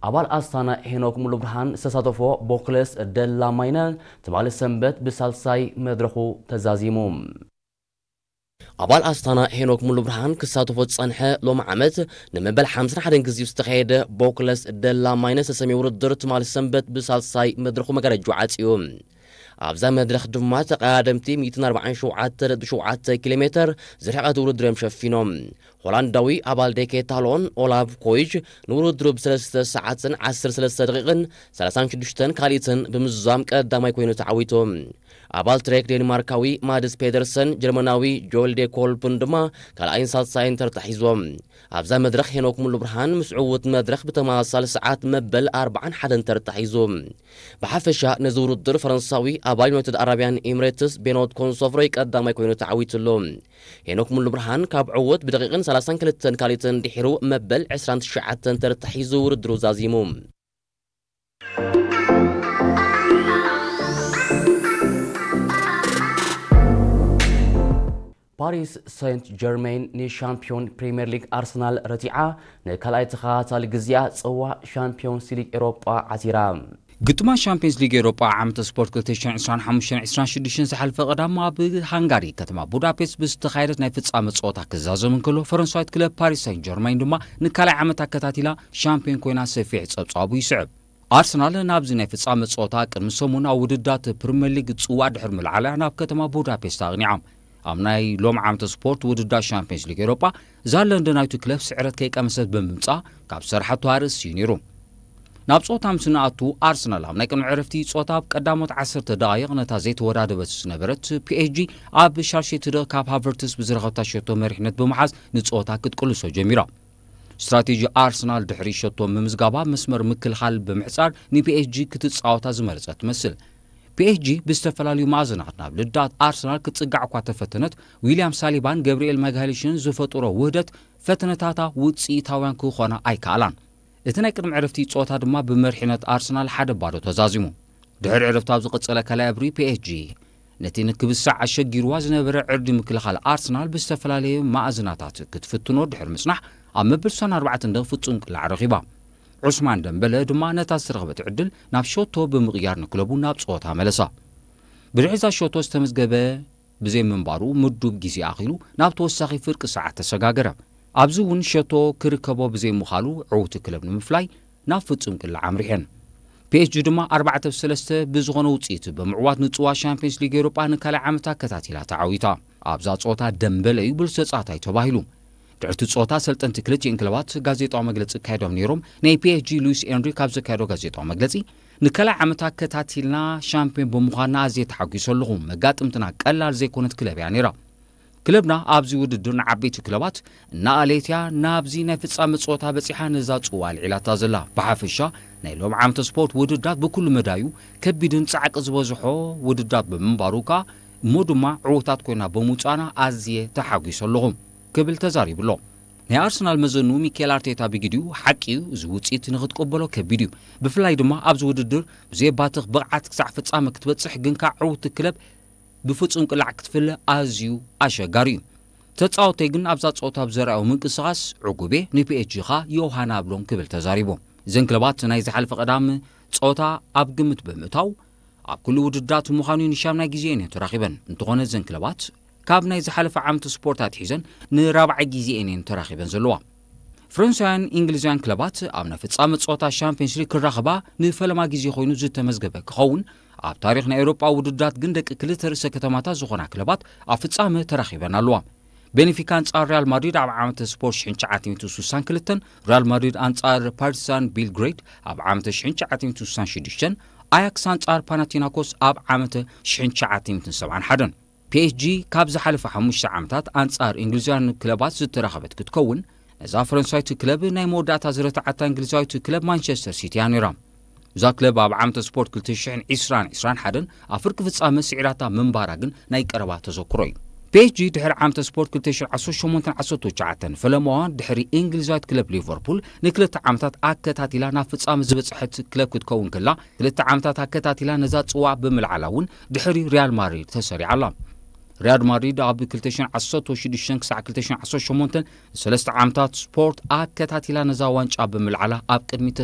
ኣባል ኣስታና ሄኖክ ሙሉብርሃን ዝተሳተፎ ቦክለስ ደላ ማይነ ትማሊ ሰንበት ብሳልሳይ መድረኹ ተዛዚሙ። ኣባል ኣስታና ሄኖክ ሙሉብርሃን ክሳተፎ ዝጸንሐ ሎሚ ዓመት ንመበል ሓምሳን ሓደን ግዜ ዝተኻየደ ቦክለስ ደላ ማይነ ዝተሰምየ ውድድር ትማሊ ሰንበት ብሳልሳይ መድረኹ መጋረጅኡ ዓጽዩ። ኣብዛ መድረኽ ድማ ተቐዳደምቲ ሚእትን ኣርባዓን ሸውዓተ ነጥቢ ሸውዓተ ኪሎ ሜተር ዝርሕቐት ውድድር እዮም ሸፊኖም። ሆላንዳዊ ኣባል ዴኬታሎን ኦላቭ ኮይጅ ንውድድሩ ብሰለስተ ሰዓትን ዓሰርተ ሰለስተ ደቂቕን ሰላሳን ሽዱሽተን ካልኢትን ብምዝዛም ቀዳማይ ኮይኑ ተዓዊቱ። ኣባል ትሬክ ዴንማርካዊ ማድስ ፔደርሰን፣ ጀርመናዊ ጆል ዴ ኮልፕን ድማ ካልኣይን ሳልሳይን ተርታ ሒዞም። ኣብዛ መድረኽ ሄኖክ ሙሉ ብርሃን ምስ ዕዉት መድረኽ ብተመሳሳሊ ሰዓት መበል ኣርባዓን ሓደን ተርታ ሒዙ። ብሓፈሻ ነዚ ውድድር ፈረንሳዊ ኣባል ዩናይትድ ኣረብያን ኤምሬትስ ቤኖት ኮንሶፍሮይ ቀዳማይ ኮይኑ ተዓዊትሉ። ሄኖክ ሙሉ ብርሃን ካብ ዕዉት ብደቂቕን ሰላሳን ክልተን ካልኢትን ድሒሩ መበል ዕስራን ትሽዓተን ተርታ ሒዙ ውድድሩ ዛዚሙ። ፓሪስ ሴንት ጀርሜን ንሻምፒዮን ፕሪምየር ሊግ ኣርሰናል ረቲዓ ንካልኣይ ተኸታታሊ ግዜኣ ጽዋእ ሻምፒዮንስ ሊግ ኤሮጳ ዓቲራ። ግጥማት ሻምፒዮንስ ሊግ ኤሮጳ ዓመተ ስፖርት ክልተ ሽሕን ዕስራን ሓሙሽተን ዕስራን ሽዱሽተን ዝሓለፈ ቀዳም ኣብ ሃንጋሪ ከተማ ቡዳፔስት ብዝተኻየደት ናይ ፍጻመ ጸወታ ክዛዘም እንከሎ፣ ፈረንሳዊት ክለብ ፓሪስ ሴንት ጀርሜን ድማ ንካልኣይ ዓመት ኣከታቲላ ሻምፒዮን ኮይና ሰፊሕ ጸብጻቡ ይስዕብ። ኣርሰናል ናብዚ ናይ ፍጻመ ጸወታ ቅድሚ ሰሙን ኣብ ውድዳት ፕሪምየር ሊግ ጽዋእ ድሕሪ ምልዓላ ናብ ከተማ ቡዳፔስት ኣቕኒዓ። ኣብ ናይ ሎም ዓመተ ስፖርት ውድዳት ሻምፒዮንስ ሊግ ኤሮጳ እዛ ለንደናዊት ክለብ ስዕረት ከይቀመሰት ብምምጻእ ካብ ዝሰርሓቶ ኣርእስቲ እዩ ነይሩ። ናብ ጸወታ ምስ ንኣቱ ኣርሰናል ኣብ ናይ ቅድሚ ዕረፍቲ ጸወታ ኣብ ቀዳሞት ዓሰርተ ደቓይቕ ነታ ዘይተወዳደበት ዝነበረት ፒኤስጂ ኣብ ሻርሸትደ ካብ ሃቨርትስ ብዝረኸብታ ሸቶ መሪሕነት ብምሓዝ ንጸወታ ክትቅልሶ ጀሚራ። ስትራቴጂ ኣርሰናል ድሕሪ ሸቶ ምምዝጋባ መስመር ምክልኻል ብምሕጻር ንፒኤስጂ ክትጻወታ ዝመረጸት ትመስል። ፒኤስጂ ብዝተፈላለዩ መኣዝናት ናብ ልዳት ኣርሰናል ክትጽጋዕ እኳ ተፈተነት፣ ዊልያም ሳሊባን ገብርኤል ማግሃሊሽን ዝፈጥሮ ውህደት ፈተነታታ ውጽኢታውያን ክኾና ኣይከኣላን። እቲ ናይ ቅድሚ ዕረፍቲ ጸወታ ድማ ብመሪሕነት ኣርሰናል ሓደ ባዶ ተዛዚሙ። ድሕሪ ዕረፍቲ ኣብ ዝቐጸለ ካልኣይ እብሪ ፒኤስጂ ነቲ ንክብሳዕ ኣሸጊርዋ ዝነበረ ዕርዲ ምክልኻል ኣርሰናል ብዝተፈላለየ መኣዝናታት ክትፍትኖ ድሕሪ ምጽናሕ ኣብ መበል ስሳን ኣርባዕተን ደቂቕ ፍጹም ቅላዕ ረኺባ። ዑስማን ደምበለ ድማ ነታ ዝተረኽበት ዕድል ናብ ሸቶ ብምቕያር ንክለቡ ናብ ጸወታ መለሳ። ብድሕሪ እዛ ሸቶ ዝተመዝገበ ብዘይምንባሩ ምዱብ ግዜ ኣኺሉ ናብ ተወሳኺ ፍርቂ ሰዓት ተሰጋገረ። ኣብዚ እውን ሸቶ ክርከቦ ብዘይምኻሉ ዕውቲ ክለብ ንምፍላይ ናብ ፍጹም ቅላዕ ኣምሪሐን። ፒኤስጂ ድማ ኣርባዕተ ብ ሰለስተ ብዝኾነ ውጽኢት ብምዕዋት ንጽዋ ሻምፒዮንስ ሊግ ኤውሮጳ ንካልኣይ ዓመት ኣከታቲላ ተዓዊታ። ኣብዛ ጸወታ ደምበለ እዩ ብሉጽ ተጻዋታይ ተባሂሉ። ድሕርቲ ጸወታ ኣሰልጠንቲ ክልቲኤን ክለባት ጋዜጣዊ መግለጺ ኣካይዶም ነይሮም። ናይ ፒኤስጂ ሉዊስ ኤንሪክ ኣብ ዘካየዶ ጋዜጣዊ መግለጺ፣ ንካልኣይ ዓመት ኣከታቲልና ሻምፒዮን ብምዃንና ኣዝየ ተሓጒሰ ኣለኹ። መጋጥምትና ቀላል ዘይኮነት ክለብ እያ ነይራ። ክለብና ኣብዚ ውድድር ንዓበይቲ ክለባት እናኣለየት እያ ናብዚ ናይ ፍጻመ ጸወታ በጺሓ ነዛ ጽዋ ኣልዒላታ ዘላ። ብሓፈሻ ናይ ሎም ዓመተ ስፖርት ውድዳት ብኩሉ መዳዩ ከቢድን ጻዕቂ ዝበዝሖ ውድዳት ብምንባሩ ከኣ እሞ ድማ ዕዉታት ኮይና ብምውጻእና ኣዝየ ተሓጒሰ ኣለኹ ክብል ተዛሪቡ ኣሎ። ናይ ኣርሰናል መዘኑ ሚኬል ኣርቴታ ብግዲኡ ሓቂ እዩ፣ እዚ ውጽኢት ንኽትቅበሎ ከቢድ እዩ። ብፍላይ ድማ ኣብዚ ውድድር ብዘየባትኽ ብቕዓት ክሳዕ ፍጻመ ክትበጽሕ ግን ከኣ ዕውቲ ክለብ ብፍጹም ቅላዕ ክትፍለ ኣዝዩ ኣሸጋሪ እዩ። ተጻወተይ ግን ኣብዛ ጸወታ ብዘርኣዮ ምንቅስቓስ ዕጉብ እየ፣ ንፒኤስጂ ኸኣ ዮሃና ኣብሎም ክብል ተዛሪቡ። እዘን ክለባት ናይ ዝሓለፈ ቀዳም ጸወታ ኣብ ግምት ብምእታው ኣብ ኩሉ ውድዳት ምዃኑ ንሻምናይ ግዜኤን እየን ተራኺበን። እንተኾነ እዘን ክለባት ካብ ናይ ዝሓለፈ ዓመት ስፖርት ኣትሒዘን ንራብዓይ ግዜኤን እየን ተራኺበን ዘለዋ። ፈረንሳውያን እንግሊዛውያን ክለባት ኣብ ናይ ፍጻመ ጸወታ ሻምፒዮንስ ሊግ ክራኸባ ንፈለማ ግዜ ኮይኑ ዝተመዝገበ ክኸውን፣ ኣብ ታሪኽ ናይ ኤውሮጳ ውድዳት ግን ደቂ ክልተ ርእሰ ከተማታት ዝኾና ክለባት ኣብ ፍጻመ ተራኺበን ኣለዋ። ቤንፊካ ኣንጻር ሪያል ማድሪድ ኣብ ዓመተ ስፖርት ሽሕን ትሽዓተ ሚእትን ስሳን ክልተን፣ ሪያል ማድሪድ ኣንጻር ፓርቲዛን ቤልግሬድ ኣብ ዓመተ ሽሕን ትሽዓተ ሚእትን ስሳን ሽዱሽተን፣ ኣያክስ ኣንጻር ፓናቲናኮስ ኣብ ዓመተ ሽሕን ትሽዓተ ሚእትን ሰብዓን ሓደን። ፒኤስጂ ካብ ዝሓለፈ ሓሙሽተ ዓመታት ኣንጻር እንግሊዛውያን ክለባት ዝተራኸበት ክትከውን፣ ነዛ ፈረንሳዊት ክለብ ናይ መወዳእታ ዝረትዓታ እንግሊዛዊት ክለብ ማንቸስተር ሲቲ እያ ነይራ። እዛ ክለብ ኣብ ዓመተ ስፖርት ክልተ ሽሕን ዕስራን ዕስራን ሓደን ኣብ ፍርቂ ፍጻመ ስዒራታ ምንባራ ግን ናይ ቀረባ ተዘክሮ እዩ። ፒኤስጂ ድሕሪ ዓመተ ስፖርት ክልተ ሽሕን ዓሰርተ ሸሞንተን ዓሰርተ ትሽዓተን ፈለማዋ ድሕሪ እንግሊዛዊት ክለብ ሊቨርፑል ንክልተ ዓመታት ኣከታቲላ ናብ ፍጻመ ዝበጽሐት ክለብ ክትከውን ከላ፣ ክልተ ዓመታት ኣከታቲላ ነዛ ጽዋዕ ብምልዓላ እውን ድሕሪ ሪያል ማድሪድ ተሰሪዓ ኣላ። ሪያል ማድሪድ ኣብ ክልተ ሽሕን ዓሰርተ ሽዱሽተን ክሳዕ ክልተ ሽሕን ዓሰርተ ሸሞንተን ንሰለስተ ዓመታት ስፖርት ኣከታቲላ ነዛ ዋንጫ ብምልዓላ ኣብ ቅድሚት